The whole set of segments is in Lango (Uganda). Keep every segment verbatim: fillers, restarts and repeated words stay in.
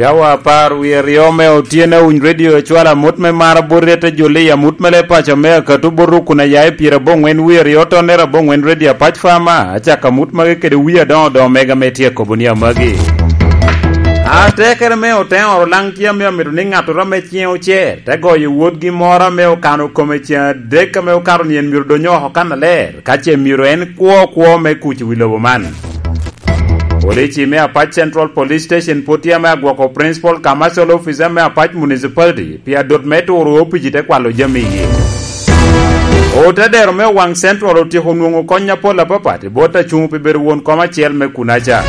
Cawa apar wie aryo me otyeno, Awuny Radio ecwalo amut me mar abot ryete joli, amut me leb paco me akatu bot rukun aya i pyeraboŋwen wie aryo tonnere aboŋwen, Radio Apac Fama. Acako amut magi kede wie adoŋo doŋo mega me tye akobo ni amagi. Atekere me oteŋoro laŋ tye ame amito ni ŋattoro ame ciŋe ocer te goyo wotgi moro ame okano kome ceŋ adek ame okato nyen myero dony oko kannaler, ka ce myero en kwo kwo me kuc i wi lobo man. Polici me Apac Central Police Station pwod tye ame agwoko Principal Commercial Officer me Apac Municipality pi adot me turo opici te kwalo jami iye. Otedero me Owaŋ Central otyeko nwoŋo kony apol apapat i bot acuŋ pi bedo won kom acel me kunaca.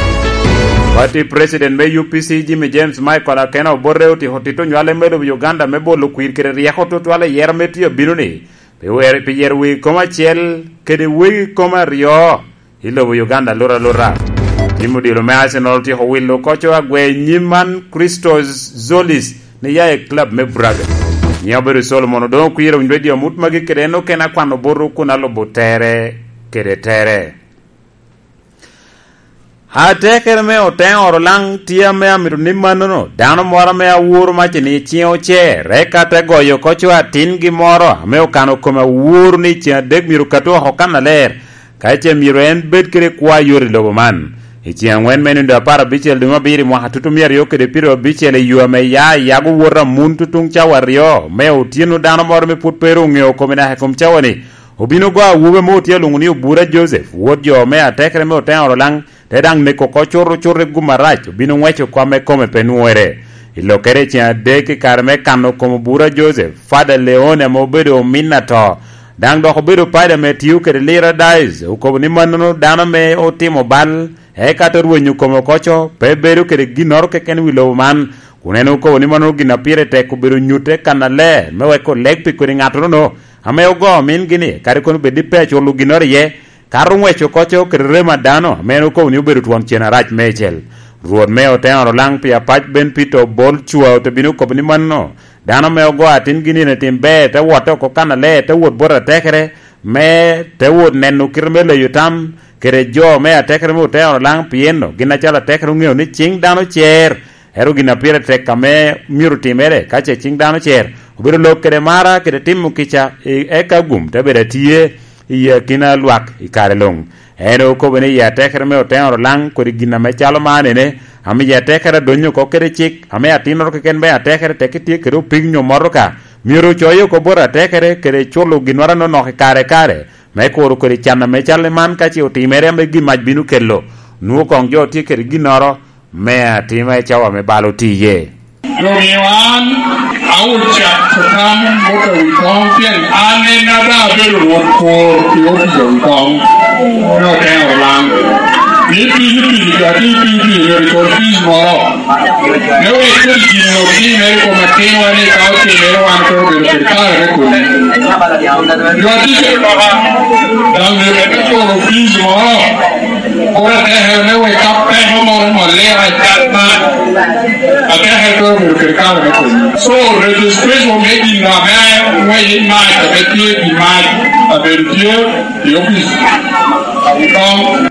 Pati President me U P C Jimmy James Michael Akena Obote otyeko tito nywale me lobo Uganda me bolo kwir kede ryeko tutwal i yero me tye abino-ni, pi wer-, pi yero wegi kom acel kede wegi kom aryo i lobo Uganda aluta aluta. Tim odilo me Arsenal otyeko wilo koco agwe i nyim man Christos Zolis ni ya i club me Braga. Nyiŋ obedo Solomon Odongo Kwir, Awuny Radio amut magi kede en okene akwano botwu kun alubo tere kede tere. Atekere me oteŋoro laŋ tye ame amito ni mannono, dano moro ame aworo mac ni ciŋe ocer, eka te goyo koco atingi moro ame okano kome aworo ni ceŋ adek myero katu oko kannaler, ka ce myero en bed kede kwo ayot i lobo man. I ceŋ aŋwen me nino apar abicel dwe me abiro i mwaka tutu mia aryo kede pyerabicel i yo ame ya yago wot amun tutuŋ cawa aryo me otyeno, dano moro ame pwod pe ru oŋeo kome naka i kom cawa-ni, obino go awobi ame otye alwoŋo ni Obura Joseph, wot jo me atekere me oteŋoro laŋ, te daŋ neko oko curucuru i gum arac, obino ŋweco kop ame kome pe nwoŋere. I lokkere i ceŋ adek i kare me kano kom Obura Joseph, Fada Leone ame obedo omin ato, daŋ dok obedo padi ame tio kede Lira Diocese, okobo ni mannono dano ame otimo bal, eka te rwenyo kome oko co, pe bedo kede ginnoro keken i wi lobo man, kun en okobo ni mannono gin a pire tek obedo nyutte kannaler, me wek oleg pi kodi ŋattono ame ogo omin-gi-ni, kadi kono bed ni pe aculo ginnoro iye, kato ŋweco oko co kede remo a dano, ame en okobo ni obedo twon cen arac meicel. Rwot me oteŋoro laŋ pi Apac Ben Peter Obol Cwa ote bino kobo ni manno, dano ame ogo atin-gi nino i tim ber, te wotte oko kannaler, te wot bot atekere, me te wot neno kite me leyo tam, kede jo me atekere me oteŋoro laŋ, pien gin acalo atekere oŋeo ni ciŋ dano cer, ento gin a pire tek ame myero timere ka ce ciŋ dano cer, obedo lok kede mara kede timo kica, i-, eka gum te bedo atye i akina lwak i kare luŋ. En okobo ni i atekere me oteŋoro laŋ kodi gin ame calo man ene, ame i atekere adonyo oko kede cik, ame atinnoro keken me atekere tek tye kede opig nyo motoka, myero ocoye oko bot atekere kede culo ginnoro anonok i kare kare, me kuro kodi can ame cal i man ka ce otimere ame gin mac bino kelo. Nwoŋo koŋ jo tye kede ginnoro me atima i cawa me bal oti iye. Domiyo an, aoca tam bot awi koŋ, pien an en a daŋ abedo rwot kwor i opic awi koŋ me oteŋoro laŋ. Ni piny i piny, ka tye piny i piny, myero i kor fic moro. Me wek kodi gin onok timere i kom atinwa ni ka otimere wan pe obedo kede kare me kodi. Jo atic, daŋ myero ete culo fic moro. Kur atekere me wek ka peko moro molle acat man, atekere pe obedo kede kare me kodi. So, registration me gin ame ŋwec i mac ame tye i mac abedo tye i opic. Akoŋ.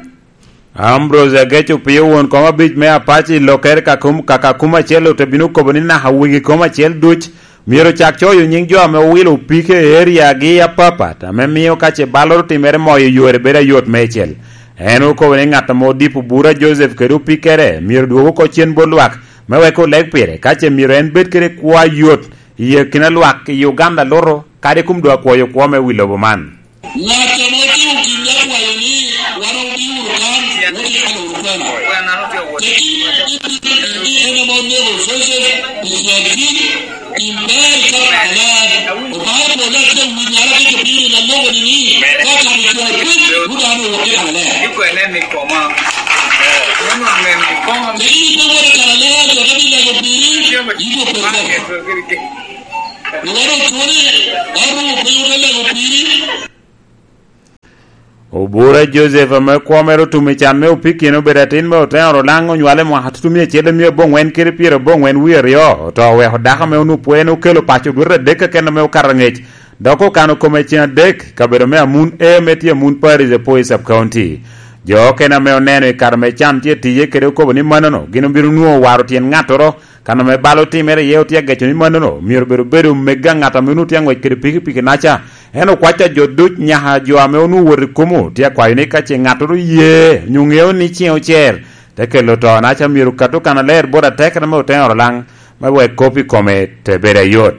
Ambrose Ageco Opio, won kom abic me Apac i lokkere ka kum-, kaka kum acel, ote bino kobo ni naka wegi kom acel duc myero cak coyo nyiŋ jo ame owilo opike i eriagi apapat, ame mio ka ce balloro timere moyo yore bedo ayot meicel. En okobo ni ŋat ame odipo bura Joseph kede opikere myero dwog oko cen bot lwak, me wek oleg pire, ka ce myero en bed kede kwo ayot i akina lwak i Uganda luto, kadi kum doŋ akwoyo kwo me wi lobo man. Ŋat ame otimo gin me kwayo ni wan obi wunu kan, wot ikano wunu kwena. Tekki, in, in, in, in ame onego Joseph i Ciakin, in ber i Kapalan. Obaŋa opwodde acel wi nyara ki jopiny ame mogo ni ni, ka kan i Ciakin, wun dano wot i Kapalan. Tekki, in pe wot i Kapalan, jo te bi lego piri, in jo pe kwena. Wan otwoni, wan owo piny ote lego piri. Obura Joseph ame kwo mere otum i can me opikino obedo atin me oteŋoro laŋ onywale mwaka tutumia acel omia aboŋwen kede pyera aboŋwen wie aryo, oto oweko dako ame onwoŋo pwod en okelo paco dwete adek keken ame okato angec, dok okano kome ceŋ adek i kabedo me Amun A ame tye Amun Parish, Apoi Sub County. Jo okene ame oneno i kare me can tye tiye kede okobo ni mannono gin obino nwoŋo waro tyen ŋattoro Kan ame bal otimere iye otye ageco ni mannono myero bedo bedo mega ŋat ame onwoŋo tye aŋwec kede pikipiki-naca. En okwaco a jo duc nyaka jo ame onwoŋo wot i kumo tye akwayo ni ka ce ŋattoro ye onyo ŋeo ni ciŋe ocer, te kelo to-naca myero kat okan aler bot atekere me oteno Orolaŋ me wek kop i kome te bedo ayot.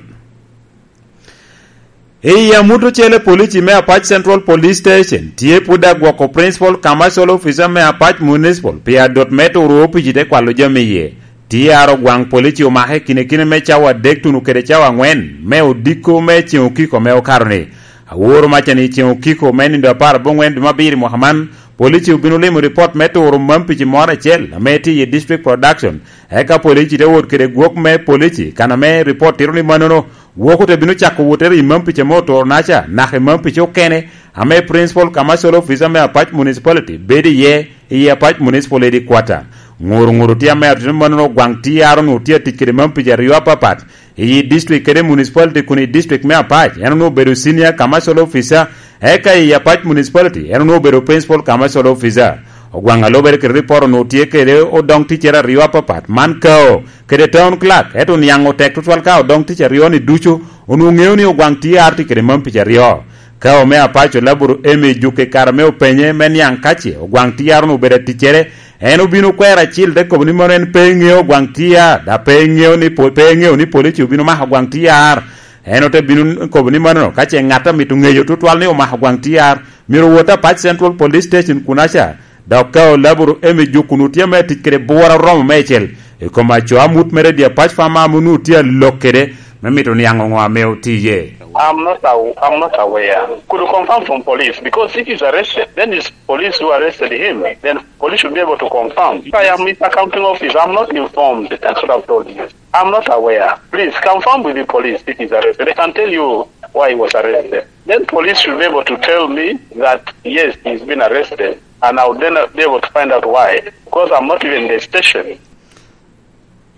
I amut ocele, polici me Apac Central Police Station tye pwod agwoko Principal Commercial Officer me Apac Municipal pi adot me turo opici te kwalo jami iye. Tye aro gwaŋ polici omake kinekine me cawa adek tuno kede cawa aŋwen me odiko me ceŋ okiko me okato-ni. Aworo maca ni ceŋ okiko me nindo apar aboŋwen dwe me abiro mwaka man, polici obino limo ripot me turo mampici moro acel ame tye i District Production. Eka polici te wot kede gwok me polici, kan ame ripot tito ni mannono, gwok ote bino cako wotere i mampici ame oturo-naca, naka i mampici okene ame Principal Commercial Officer me Apac Municipality bedo iye, i Apac Municipal Headquarter. Ŋuru ŋuru tye ame atito mannono gwaŋ T R onwoŋo tye atic kede mampici aryo apapat, i district kede municipality kun i district me Apac, en onwoŋo obedo Senior Commercial Officer, eka i Apac Municipality, en onwoŋo obedo Principal Commercial Officer. Ogwaŋ a lubere kede ripot onwoŋo tye kede odoŋ ticcere aryo apapat, man Kao kede Town Clerk, ento niaŋ otek tutwal ka odoŋ tic aryo-ni ducu onwoŋo ŋeo ni Ogwaŋ T R tye kede mampici aryo. Kao me Apac olaburu Emmy Juke kare me openye me niaŋ ka ce Ogwaŋ T R onwoŋo obedo aticcere, en obino kwero acil te kobo ni mano en pe ŋeo Ogwaŋ T R, da pe ŋeo ni po-, pe ŋeo ni polici obino mako Ogwaŋ T R. En ote bino kobo ni mano ka ce ŋat a mito ŋeyo tutwal ni omako Ogwaŋ T R, myero owot Apac Central Police Station kunaca. Dok ka olaburu Emmy Juke onwoŋo tye ame atic kede bworo oromo meicel i kom aco amut mere di Apac Farmer ame onwoŋo tye alok kede me mito niaŋ oŋo ame oti iye. I'm not aw-, I'm not aware. Could you confirm from police? Because if he's arrested, then it's police who arrested him. Then police should be able to confirm. If I am his accounting officer, I'm not informed. That's what I've told you. I'm not aware. Please confirm with the police if he's arrested. They can tell you why he was arrested. Then police should be able to tell me that, yes, he's been arrested. And I would then be able to find out why. Because I'm not even in the station.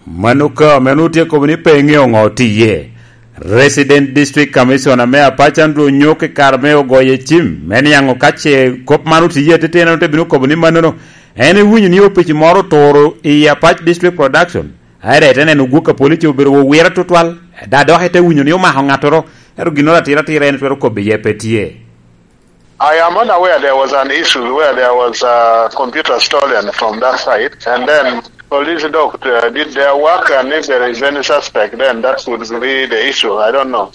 Mano ka ame onwoŋo tye kobo ni pe ŋeo ŋo tye iye. Resident District Commissioner me Apac Andrew Onyok i kare me ogoye cim me niaŋ ka ce kop man otye iye ateteni, en ote bino kobo ni mannono. En ewinyo ni opici moro oturo i Apac District Production. Aye ite neno gwok a police obedo owire tutwal, da dok ite winyo ni omako ŋattoro, ento ginnoro atira atira en twero kobbe iye pe tye. I am unaware there was an issue where there was a computer stolen from that site, and then police doc, uh, did their work, and if there is any suspect, then that would be the issue. I don't know.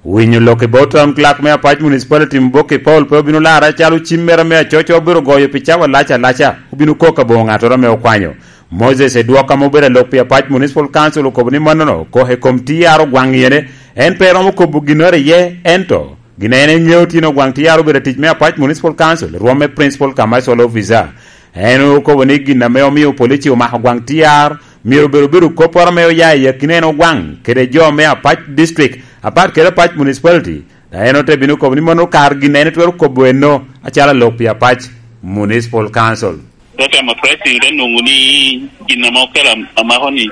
Winyo lok i bot Town Clerk me Apac Municipality Muboki Paul pe obino larre acalo cim mere me acoco obiro goyo pi cawa lac alaca, obino kok aboŋo ŋattoro ame okwanyo. Moses Edwok ame obedo alok pi Apac Municipal Council okobo ni mannono kok i kom T R Ogwaŋ iyene, en pe romo kobo ginnoro iye, ento gin en eŋeo tyen Ogwaŋ T R obedo atic me Apac Municipal Council, rwom me Principal Commercial Officer. En okobo ni gin ame omio polici omako Ogwaŋ T R myero obedo obedo kopporo ame oya i akina en Ogwaŋ kede jo me Apac District, apat kede Apac Municipality. Da en ote bino kobo ni mano kar gin en twero kobo eno acalo alok pi Apac Municipal Council. Dok ema president onwoŋo ni gin ame okelo am-, amako ni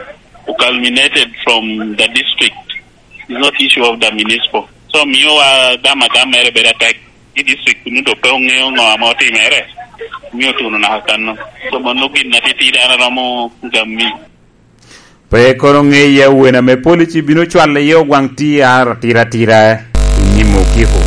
oculminated from the district. It's not issue of the municipal. So miyowa gam agam mere bedo atek. I district kunu to pe oŋeo ŋo ame otimere, omio otuno naka kanno. So mano gin atitidi an aromo gammi. Pe kono ŋe iye wen ame polici bino cwalo iye Ogwaŋ T R atira atira i nyim okiko.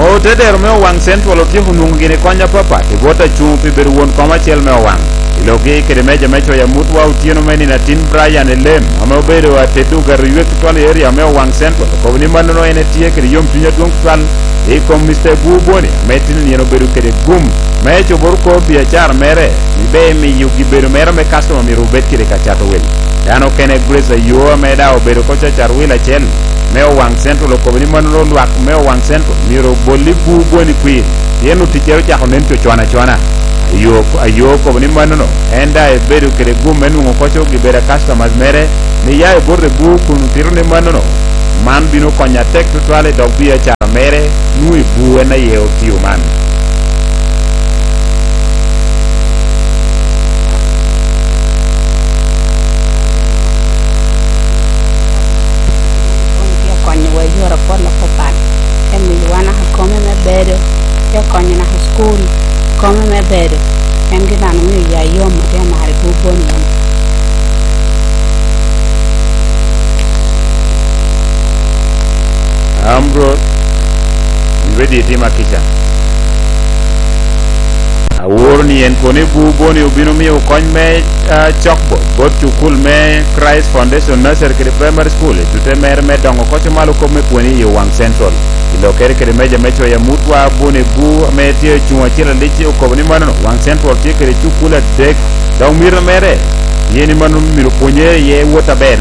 Otedero me Owaŋ Central otyeko nwoŋo gini kony apapat i bot acuŋ pi bedo won kom acel me Owaŋ. I lokgi kede meja me coyo amutwa otyeno me nino atin Brian Elem, ame obedo atedo gato ywek tutwal i area me Owaŋ Central, okobo ni mannono en etye kede yomcuny adwoŋ tutwal i kom Mister Buu Boni, ame tin nino obedo kede gum me coboro kor biacara mere, ni be miyo gibedo mere me customer myero obed kede ka cato wil. Dano okene Grace Ayo, ame daŋ obedo oko cacar wil acel me Owaŋ Central, okobo ni mannono lwak me Owaŋ Central myero obol i Buu Boni kwir, pien oticcere ocako nen cocon acona. Ayo, Ayo okobo ni mannono en daŋ ebedo kede gum me nwoŋo koco gibedo a customers mere, ni ya i bot i Buu kun otito ni mannono, man bino konyo atek tutwal i dog biacara mere, nwoŋo i Buu en aye otio man. Kun tye konyowa i yore apol apapat, te miyowa naka kome me bedo, te konyo naka i cukul, kome me bedo. En gin An omio ya yom, atye amaro i bur boni. Amro, ready itima kica. Aworo ni en kono i bur boni obino miyo kony me, ah, cok bot, bot cukul me Christ Foundation Nursery kede Primary School, i tute mere me dongo koco malo kop me pwony i Owaŋ Central. I lokere kede meja me coyo amut wa, Bun Ebu ame tye ocuŋ acel alic okobo ni manono, Waŋ Central tye kede cukul adek, dok mito mere tye ni mano myero pwonye iye wot aber.